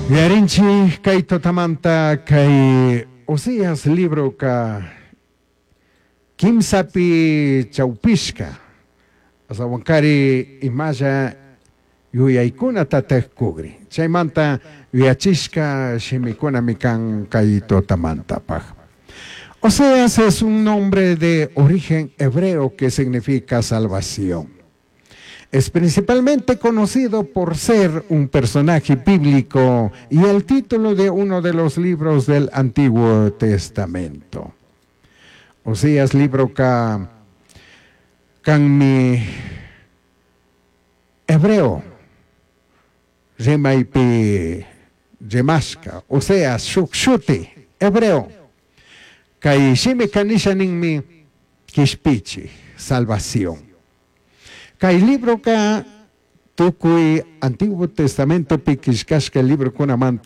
Yuyarinchij kay tutamanta kay Oseas libroka kimsapi chaupishka astawankari imalla yuyaykunatataj kugrin chaymanta yuyachishka shimikunami kan kay tutamantapaj. Oseas es un nombre de origen hebreo que significa salvación. Es principalmente conocido por ser un personaje bíblico y el título de uno de los libros del Antiguo Testamento. Oseas libroka kanmi hebreo rimaypi rimashka, Oseas shuk shuti hebreo. Kay shimika nisha ninmi kishpichij, salvación. Kay libroka tukuy Antiguo Testamentopi killkashka librokunamanta.